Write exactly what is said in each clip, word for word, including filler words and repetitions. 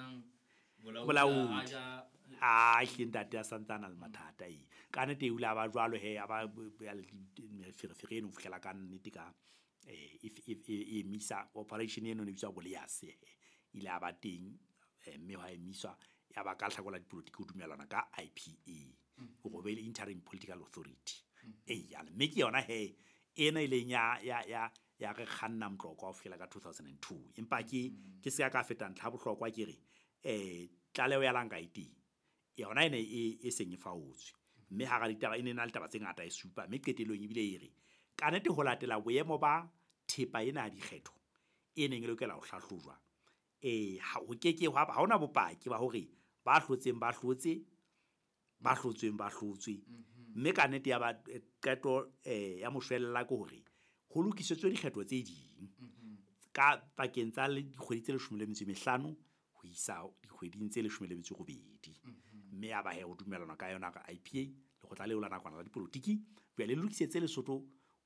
senang bolaodi a hle ntate a santsana le mathata e ka nnete o ile a ba jwalo he a ba ferefere eno ho fihlela ka nnete ka eh e emisa operation eno ne bitswa Bolease ile a ba teng mme ha emiswa ya ba ka hlakola dipolotiki ho dumellana ka I P A hore be le Interim Political Authority e ya mme ke yona he ena ileng ya ya ya ya re kganna Motlokwa ho fihlela ka two thousand and two empa ke ke se ka feta ntlha bohlokwa ke re eh tlaleho ya lanka e teng yona ene e e seng e faotswe mme ha ra ditaba e ne na le taba tse ngata e supa mme qetellong ebile e re ka nnete ho latela boemo ba thepa ena ya dikgetho e neng e lokela ho hlahlojwa eh ha ho ke ke ha hona bopaki ba hore ba hlotseng ba hlotse ba hlotsweng ba hlotswe mme ka nnete ya ba qeto eh ya moshwella ke hore ho lokisetswe dikgetho tse ding ka pakeng tsa dikgwedi tse leshome le metso e mehlano ho isa dikgweding tse leshome le metso e robedi mme ya ba he ho dumellana ka yona ka I P A lekgotla leo la nakwana la dipolotiki jwale le lokisetse Lesotho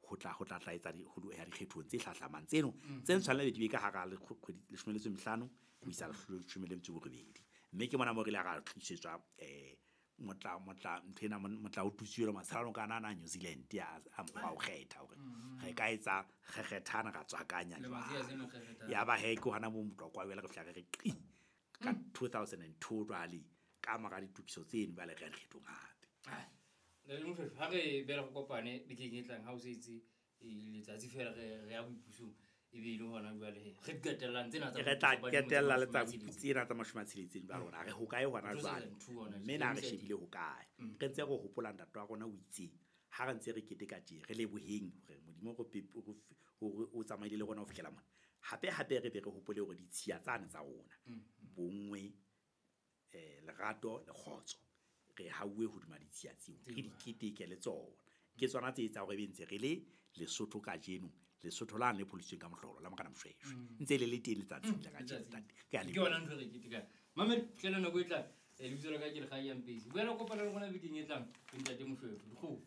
ho tla ho tla tla etsa ho ya dikgethong tse hlahlamang tseno tse tshwanela di be ka hara kgwedi leshome le metso e mehlano ho isa leshome le metso e robedi mme ke mona mo re ile ra tlisetswa eh motla motla nthena motla o tutswe matshalano kana na New Zealand ya a mokgwa o kgetha hore re ka etsa re kgethana ra tswakanya jwang ya ba he ke hona mo Motlokwa wela re fihla re qi ka two thousand and two jwale ka mora ditokiso tseno ba le re kgethong hape le Moshweshwe ha re bela go kopane bekeng e tlang ha o setse letsatsi fela re re ya boipusong e be ile hona jwale he re qetellang tsena tsa re tla qetella letsatsi tsena tsa mashome a tsheletseng jwale rona re hokae hona jwale mme na re shebile hokae re ntse re hopola ntate wa rona o itseng ha re ntse re keteka tje re leboheng hore Modimo hore o tsamaile le rona ho fihlela mona hape hape re be re hopole hore ditshiya tsane tsa rona bonngwe eh lerato le kgotso re hauwe hodima ditshiya tseo re di keteke le tsona ke tsona tse etsang hore be ntse re le Lesotho kajeno Lesotho la ne pholositsweng ka mohlolo la Morena Moshweshwe ntse le le teng letsatsing la kajeno ntate ke a leboha ke yona ntho re ketekang mamedi fihlela nako e tlang lebitso la ka ke Lekgaiya Mpesi boela kopana le rona bekeng e tlang le ntate Moshweshwe dikgomo.